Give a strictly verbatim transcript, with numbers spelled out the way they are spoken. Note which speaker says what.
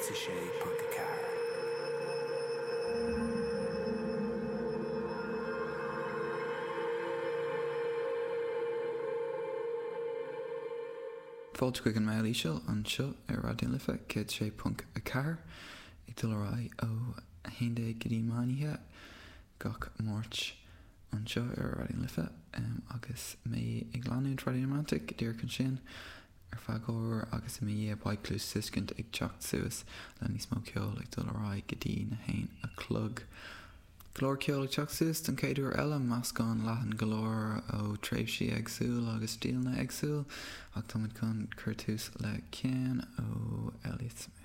Speaker 1: céad a sé ponc a ceathair.
Speaker 2: Fáilte chuig an Meall Íseal anseo ar Raidió na Life céad sé ponc a ceathair ag dul ar aghaidh ó a haon déag go dtí meán oíche gach Máirt anseo ar Raidió na Life agus mé ag leanúint Friday Romantic díreach ansin ar feadh uair agus i mo dhiaidh beidh Cluastuiscint ag teacht suas le níos mó ceoil ag dul ar aghaidh go dtí na haon a chlog. Go leor ceoil ag teacht suas don chéad uair eile, meascán leathan go leor ó tréimhsí éagsúil agus stíleanna éagsúil ach táimid chun cur tús le ceann ó Elliott Smith.